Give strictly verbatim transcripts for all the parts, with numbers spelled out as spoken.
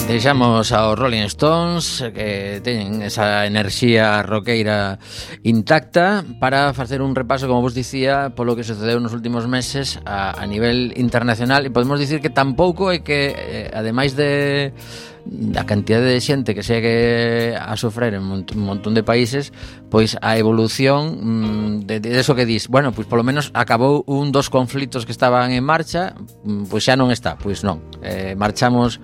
Deixamos aos Rolling Stones, que teñen esa enerxía roqueira intacta, para facer un repaso, como vos dicía, polo que sucedeu nos últimos meses a, a nivel internacional. E podemos dicir que tampouco é que, eh, ademais de a cantidade de xente que segue a sofrer en un montón de países, pois a evolución de, de eso que dis, bueno, pois polo menos acabou un dos conflitos que estaban en marcha, pois xa non está, pois non, eh, marchamos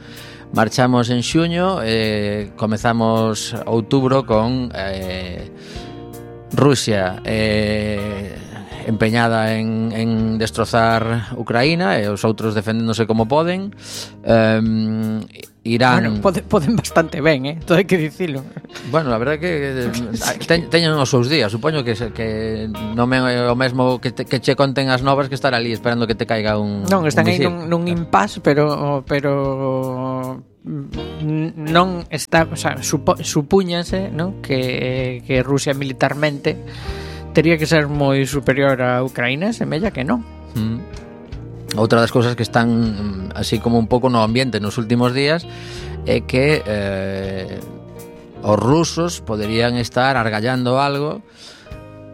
marchamos en xuño, eh, comezamos outubro con eh, Rusia eh, empeñada en, en destrozar Ucraína e os outros defendéndose como poden. um, Irán... Bueno, poden, poden bastante ben, eh? Todo hai que dicilo. Bueno, la verdad que te, teñen os seus días. Supoño que, que non é o mesmo que, te, que che conten as novas que estar ali esperando que te caiga un Non, están un aí nun, nun impasse, pero pero non está, o sea, supo, supúñase, ¿no? que, que Rusia militarmente tería que ser moi superior a Ucraína, semella que non. Mm. Outra das cousas que están así como un pouco no ambiente nos últimos días é que eh, os rusos poderían estar argallando algo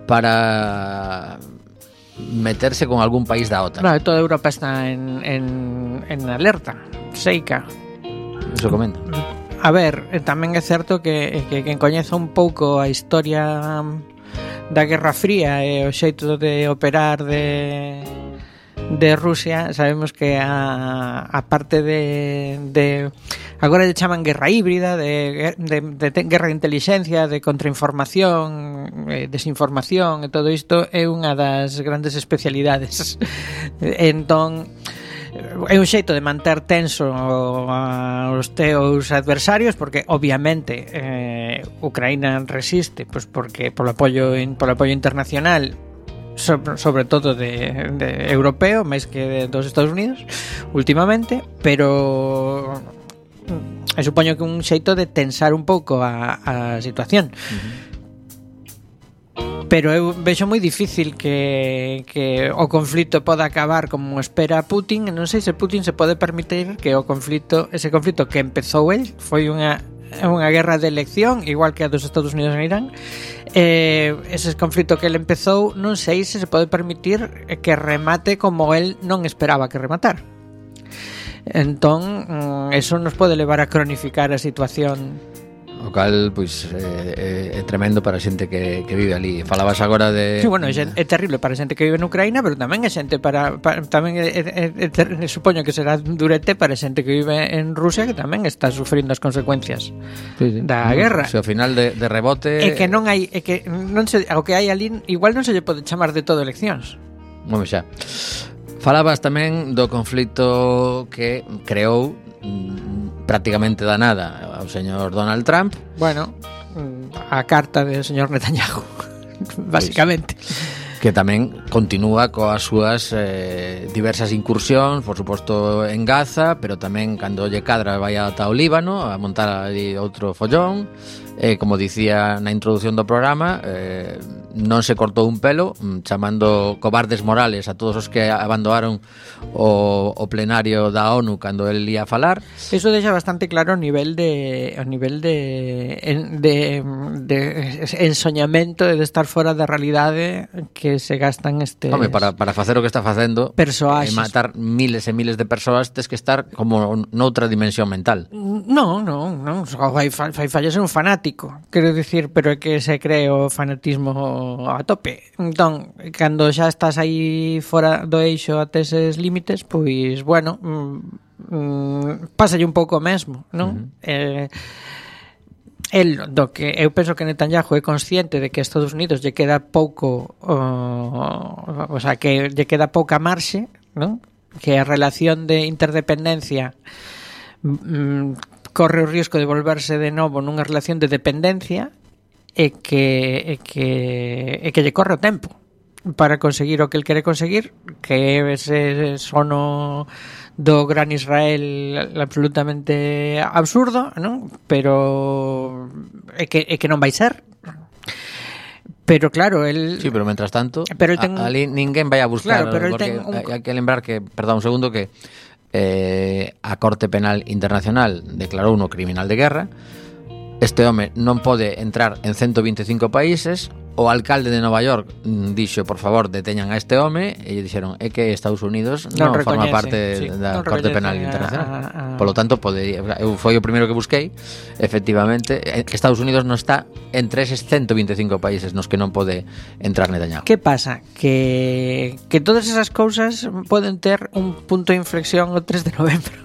para meterse con algún país da OTAN. Claro, toda Europa está en, en, en alerta, seica. Eso comenta. A ver, tamén é certo que, que quen coñeza un pouco a historia da Guerra Fría e o xeito de operar de... de Rusia, sabemos que a, a parte de, de agora lle chaman guerra híbrida, de, de, de, de guerra de inteligencia, de contrainformación, eh, desinformación, e todo isto é unha das grandes especialidades. Entón, é un xeito de manter tenso aos teus adversarios, porque obviamente eh, Ucraína resiste, pois porque polo apoio polo apoio internacional, sobre, sobre todo de, de europeo, máis que de, dos Estados Unidos últimamente, pero eu supoño que un xeito de tensar un pouco a, a situación. Uh-huh. Pero eu vexo moi difícil que, que o conflito poda acabar como espera Putin. Non sei se Putin se pode permitir que o conflito, ese conflito que empezou el, foi unha unha guerra de elección, igual que a dos Estados Unidos en Irán. Eh, ese conflito que ele empezou, non sei se se pode permitir que remate como el non esperaba que rematar. Entón, eso nos pode levar a cronificar a situación. O cal, pois, é, é tremendo para a xente que, que vive ali. Falabas agora de... Sí, bueno, é, é terrible para a xente que vive en Ucraína, pero tamén é xente para... para tamén é, é, é, é, supoño que será durete para a xente que vive en Rusia, que tamén está sufrindo as consecuencias sí, sí. da no, guerra. Se ao final de, de rebote... É que non hai... É que non se, o que hai ali, igual non se lle pode chamar de todo eleccións. Bueno, xa. Falabas tamén do conflito que creou prácticamente da nada ao señor Donald Trump. Bueno, a carta do señor Netanyahu, básicamente. Que tamén continúa coas súas eh, diversas incursións, por suposto en Gaza, pero tamén cando lle cadra vai ata o Líbano a montar ali outro follón. Eh, como dicía na introducción do programa, eh, non se cortou un pelo, chamando cobardes morales a todos os que abandonaron o, o plenario da ONU cando el ia falar. Eso deixa bastante claro o nivel de o nivel de de, de ensoñamento de estar fora da realidade que se gastan este. Home, para, para facer o que está facendo e matar miles e miles de persoas, tes que estar como noutra dimensión mental. Non, non, non, fai, fai, fai ser un fanático, quero dicir, pero é que se cree o fanatismo a tope. Entón, cando xa estás aí fora do eixo até eses límites, pois, bueno, mm, pásalle un pouco mesmo, non? Uh-huh. Eh, el, do que eu penso que Netanyahu é consciente de que a Estados Unidos lle queda pouco, uh, o sea, que lle queda pouca marxe, non? Que a relación de interdependencia mm, corre o risco de volverse de novo nunha relación de dependencia e que, e que, e que lle corre o tempo para conseguir o que el quere conseguir, que é ese sono do gran Israel absolutamente absurdo, non? Pero é que, é que non vai ser. Pero claro, el... Sí, pero mentras tanto, pero ten... ali ninguén vai a buscar, claro, pero porque ten un... hai que lembrar que, perdón un segundo, que eh, a Corte Penal Internacional declarou uno criminal de guerra. Este home non pode entrar en ciento vinte e cinco países. O alcalde de Nova York dixo, por favor, deteñan a este home, e lle dixeron é que Estados Unidos non, non forma parte sí, da non Corte Penal Internacional. A, a... Polo tanto, podería, eu foi o primeiro que busquei. Efectivamente, Estados Unidos non está entre eses ciento vinte e cinco países nos que non pode entrar Netanyahu. Que pasa? Que, que todas esas cousas poden ter un punto de inflexión o tres de novembro.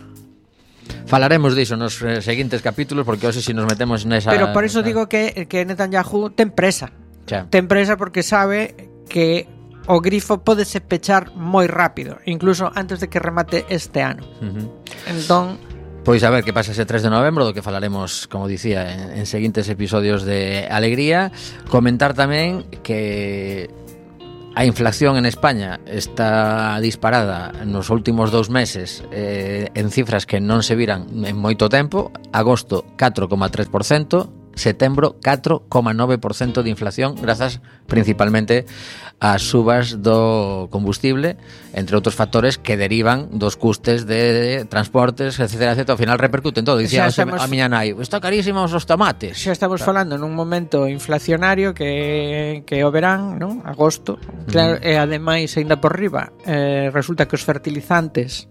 Falaremos diso nos seguintes capítulos, porque hoxe se si nos metemos nesa... Pero por iso digo que, que Netanyahu ten presa. Xa. Ten presa porque sabe que o grifo pódese pechar moi rápido, incluso antes de que remate este ano. Uh-huh. Entón, pois a ver que pasa ese tres de novembro, do que falaremos, como dicía, en, en seguintes episodios de Alegría. Comentar tamén que a inflación en España está disparada nos últimos dous meses, eh, en cifras que non se viran en moito tempo. Agosto catro coma tres por cento, setembro catro coma nove por cento de inflación, grazas principalmente ás subas do combustible, entre outros factores que derivan dos custes de transportes, etcétera, etcétera. Ao final repercuten todo. Dicía estamos, a miña nai, está carísimos os tomates. Xa estamos claro. falando nun momento inflacionario que, que o verán, non? Agosto, claro, uh-huh. E ademais, ainda por riba, eh, resulta que os fertilizantes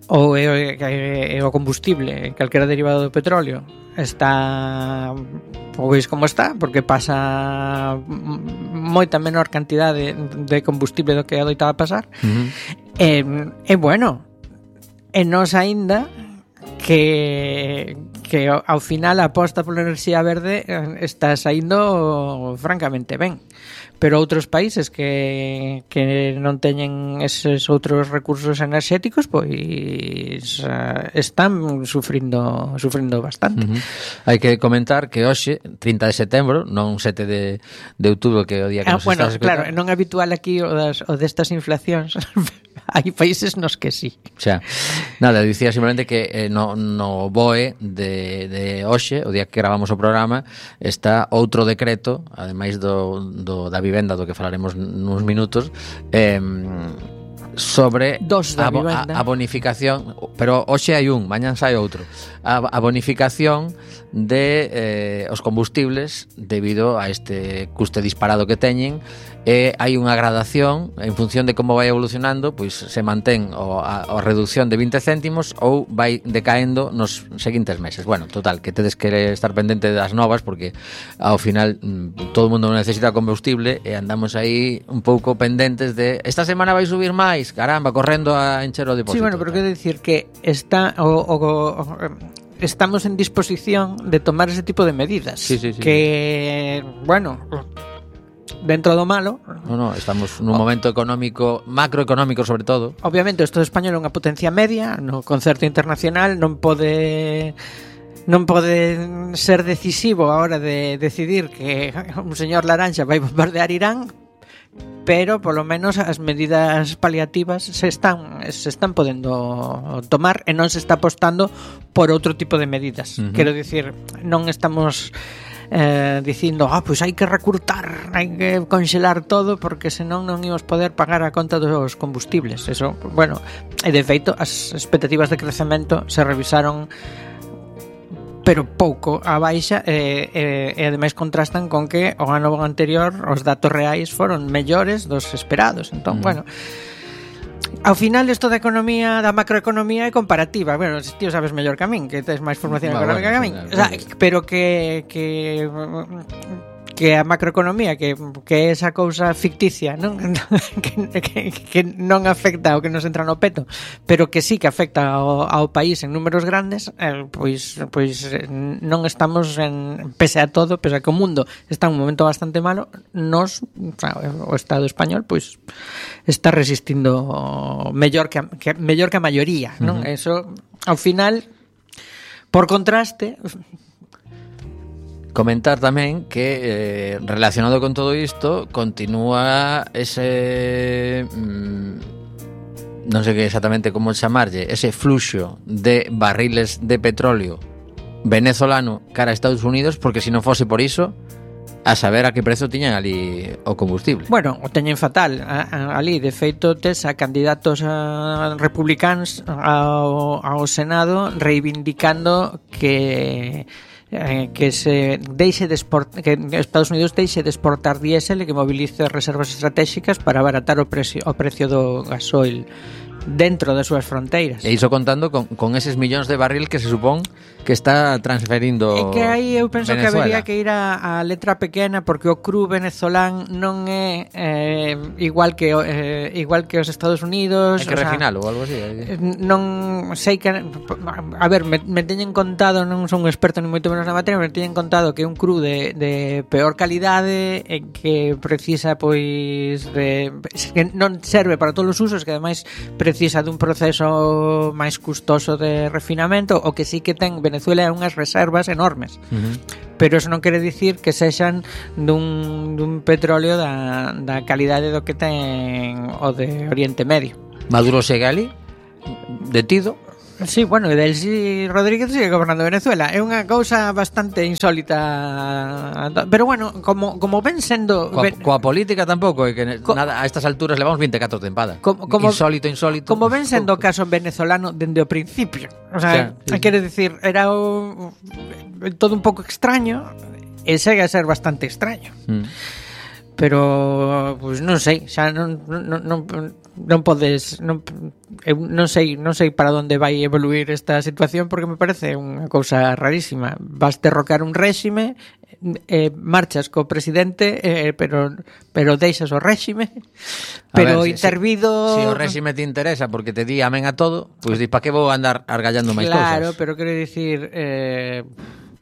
ou e, e, e o combustible, calquera derivado do petróleo, está pois como está, porque pasa moita menor cantidade de combustible do que adoitaba pasar. Uh-huh. E, e bueno, e nos aínda que que ao final a aposta pola enerxía verde está saindo francamente ben. Pero outros países que, que non teñen eses outros recursos enerxéticos, pois uh, están sufrindo sufrindo bastante. Uh-huh. Hai que comentar que hoxe, trinta de setembro, non sete de, de outubro, que é o día que ah, nos bueno, estás escutando. Claro, non é habitual aquí o, das, o destas inflacións. Hai países nos que sí. Xa. Nada, dicía simplemente que eh, no, no B O E de, de hoxe, o día que gravamos o programa, está outro decreto, ademais do, do da vivenda, do que falaremos nuns minutos, eh, sobre Dos da a, a, a bonificación, pero hoxe hai un, mañan sai outro, a, a bonificación de eh, os combustibles debido a este custe disparado que teñen. E hai unha gradación en función de como vai evolucionando, pois se mantén o, a, a reducción de vinte céntimos ou vai decaendo nos seguintes meses. Bueno, total, que tedes que estar pendente das novas, porque ao final mm, todo o mundo necesita combustible e andamos aí un pouco pendentes de esta semana vai subir máis, caramba, correndo a encher o depósito. Sí, bueno, pero quero dicir que está o, o, o estamos en disposición de tomar ese tipo de medidas. Sí, sí, sí. Que, bueno, dentro do malo. No, no, estamos nun momento económico, macroeconómico sobre todo. Obviamente o Estado español é unha potencia media no concerto internacional, non pode non pode ser decisivo a hora de decidir que un señor Laranxa vai bombardear Irán, pero polo menos as medidas paliativas se están se están podendo tomar e non se está apostando por outro tipo de medidas. Uh-huh. Quero dicir, non estamos Eh, dicindo, ah, pois hai que recurtar, hai que conxelar todo porque senón non íamos poder pagar a conta dos combustibles. Eso, bueno, e de feito as expectativas de crecemento se revisaron pero pouco a baixa e, e, e ademais contrastan con que o ano anterior os datos reais foron mellores dos esperados. Entón, mm. bueno, ao final isto da economía, da macroeconomía é comparativa. Bueno, ti o sabes mellor que a min, que tes máis formación bueno, económica bueno, que a min. O sea, pero que que que a macroeconomía, que, que é esa cousa ficticia, non? que, que, que non afecta ao que nos entra no peto, pero que sí que afecta ao, ao país en números grandes, eh, pois pois non estamos en, pese a todo, pese a que o mundo está en un momento bastante malo, nos, o, sea, o Estado español, pois está resistindo mellor que a, que, mellor que a maioría, non? Uh-huh. Eso, ao final, por contraste, comentar tamén que eh, relacionado con todo isto continúa ese mmm, non sei que exactamente como chamarlle, ese fluxo de barriles de petróleo venezolano cara a Estados Unidos, porque se non fose por iso A saber a que prezo tiñan ali o combustible. Bueno, o teñen fatal a, a, ali, de feito tes a candidatos a republicanos ao, ao Senado reivindicando que eh, que se deixe de export, que Estados Unidos deixe de exportar diésel e que movilice reservas estratégicas para abaratar o precio, o precio do gasoil dentro das súas fronteiras. E iso contando con, con eses millóns de barril que se supón que está transferindo Venezuela. É que aí eu penso Venezuela. que habería que ir a, a letra pequena, porque o cru venezolán non é eh, igual que eh, igual que os Estados Unidos. Hai que refinalo ou algo así. Non sei que a ver, me, me teñen contado, non son un experto ni moito menos na materia, me teñen contado que é un cru de, de peor calidade e que precisa pois de que non serve para todos os usos, que ademais precisa dun proceso máis custoso de refinamento, o que sí que ten Venezuela é unhas reservas enormes. Uh-huh. Pero eso non quere dicir que sexan dun, dun petróleo da, da calidade do que ten o de Oriente Medio. Maduro segue ali, detido. Sí, bueno, e Delcy Rodríguez sigue gobernando Venezuela. É unha cousa bastante insólita. Pero bueno, como, como ven sendo... Coa, ven, coa política tampouco, é que co, nada, a estas alturas levamos vinte e catro tempadas. Como, como, insólito, insólito. Como ven sendo o caso venezolano dende o principio. O sea, sí, sí, quere dicir, era o, todo un pouco extraño e segue a ser bastante extraño. Mm. Pero, pois pues, non sei, xa non... non, non non podes non, eu non sei non sei para onde vai evoluir esta situación, porque me parece unha cousa rarísima. Vas derrocar un réxime, eh, marchas co presidente, eh, pero pero deixas o réxime, pero ver, intervido si, si o réxime te interesa porque te di amén a todo, pois pues, di para que vou andar argallando máis cousas. Claro, pero quero dicir, eh,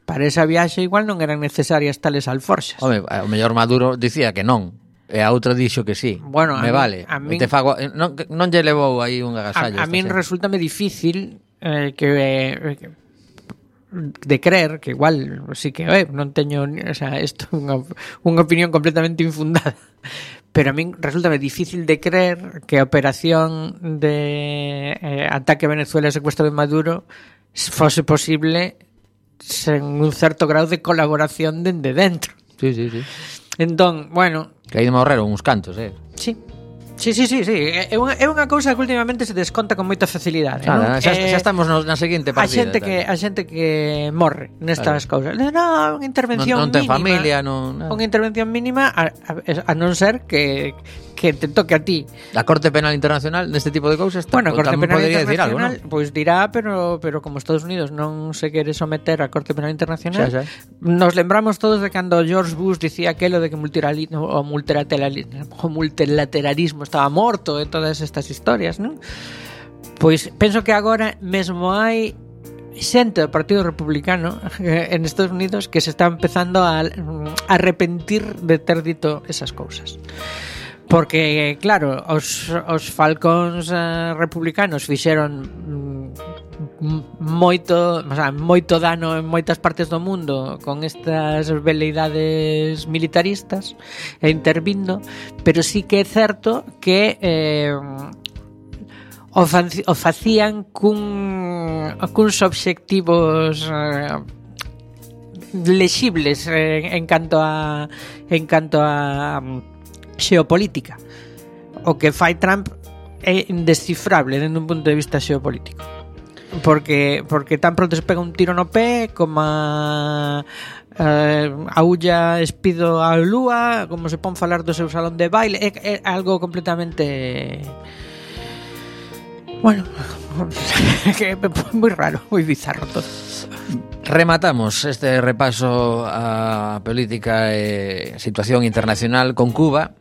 para esa viaxe igual non eran necesarias tales alforxas. Home, o mellor Maduro dicía que non. E a outra dixo que sí. Bueno, me a vale. A min, te fago, non, non lle levou aí un agasallo. A, a min resultame difícil eh, que eh, de creer que igual sí que eh, non teño, o sea, isto é unha, unha opinión completamente infundada. Pero a min resultame difícil de creer que a operación de eh, ataque a Venezuela e secuestro de Maduro fose posible sen un certo grado de colaboración dende dentro. Sí, sí, sí. Entón, bueno, que aí me ahorraron uns cantos, eh. Sí. Sí, sí, sí, sí. É unha, é unha cousa que últimamente se desconta con moita facilidade, Nada, non? Xa, eh, xa estamos no, na seguinte partida. A xente que a xente que morre nestas claro. cousas. No, unha intervención non, non ten mínima. familia, non. Unha intervención mínima a, a, a non ser que que te toque a ti. A Corte Penal Internacional neste tipo de cousas, bueno, a Corte Penal Internacional, decir algo, ¿no? Pois dirá, pero pero como Estados Unidos non se quere someter á Corte Penal Internacional. Xa, xa. Nos lembramos todos de cando George Bush dicía aquelo de que multilateralismo, o multilateralismo, o multilateralismo estaba morto e todas estas historias, non? Pois penso que agora mesmo hai xente do Partido Republicano en Estados Unidos que se está empezando a arrepentir de ter dito esas cousas. Porque, claro, os, os falcóns eh, republicanos fixeron mm, moito, o sea, moito dano en moitas partes do mundo con estas veleidades militaristas e intervindo, pero sí que é certo que eh, o, fa, o facían cun, cuns obxectivos eh, lexibles eh, en canto a en canto a xeopolítica. O que fai Trump é indescifrable dende un punto de vista xeopolítico, porque porque tan pronto se pega un tiro no pé como a eh, a Ulla espido a Lúa, como se pon falar do seu salón de baile, é, é algo completamente, bueno, que é moi raro, moi bizarro todo. Rematamos este repaso a política e situación internacional con Cuba,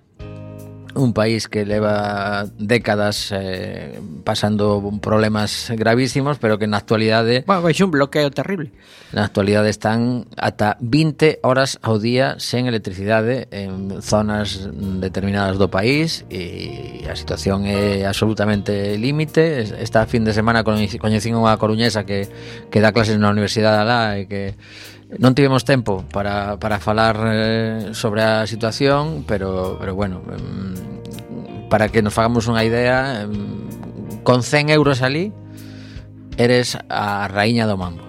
un país que leva décadas eh, pasando problemas gravísimos, pero que na actualidade... Bueno, é un bloqueo terrible. Na actualidade están ata vinte horas ao día sen electricidade en zonas determinadas do país, e a situación é absolutamente límite. Esta fin de semana coñecín unha coruñesa que, que dá clases na universidade alá e que non tivemos tempo para, para falar eh, sobre a situación, pero, pero bueno, eh, para que nos fagamos unha idea, eh, con cen euros ali eres a raíña do mambo.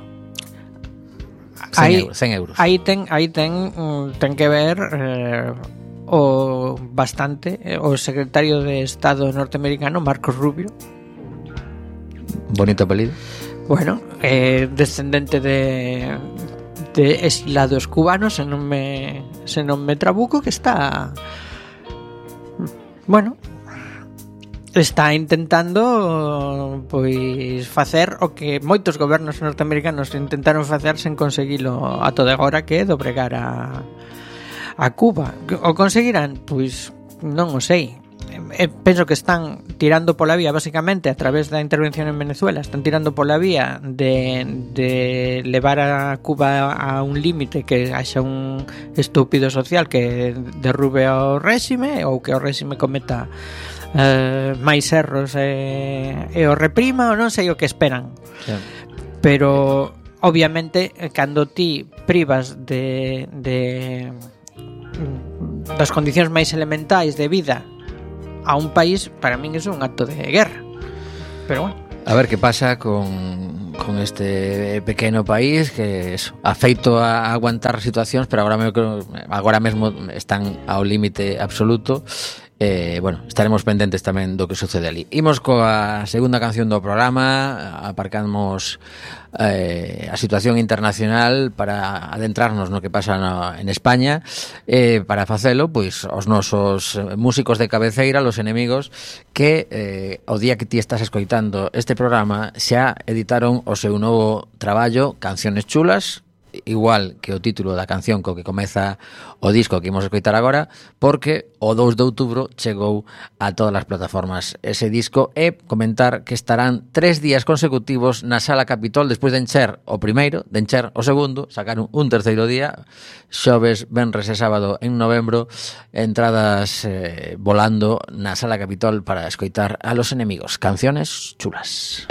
cen euros. Aí ten, aí ten, ten que ver eh, o bastante eh, o secretario de Estado norteamericano, Marco Rubio. Bonito apelido. Bueno, eh, descendente de de exilados cubanos, se non me se non me trabuco, que está bueno, está intentando pois facer o que moitos gobernos norteamericanos intentaron facer sen conseguilo a todo agora, que é dobregar a a Cuba. O conseguirán? Pois non o sei. Eh, penso que están tirando pola vía, basicamente, a través da intervención en Venezuela, están tirando pola vía de, de levar a Cuba a un límite, que haxa un estúpido social que derrube ao réxime, ou que o réxime cometa eh, máis erros e, e o reprima, ou non sei o que esperan. Sí. Pero, obviamente, cando ti privas de, de das condicións máis elementais de vida a un país, para min é un acto de guerra. Pero bueno, a ver que pasa con, con este pequeno país que eso, afeito a aguantar situacións, pero agora, me, agora mesmo están ao límite absoluto. Eh, bueno, estaremos pendentes tamén do que sucede ali. Imos coa segunda canción do programa, aparcamos eh, a situación internacional para adentrarnos no que pasa no, en España. Eh, para facelo, pois, os nosos músicos de cabeceira, los enemigos, que eh, o día que ti estás escoitando este programa xa editaron o seu novo traballo, Canciones Chulas, igual que o título da canción co que comeza o disco que imos escoitar agora, porque o dous de outubro chegou a todas as plataformas ese disco, e comentar que estarán tres días consecutivos na Sala Capitol, despois de encher o primeiro, de encher o segundo, sacaron un terceiro día, xoves, venres e sábado en novembro, entradas eh, volando na Sala Capitol para escoitar a Los Enemigos, Canciones Chulas.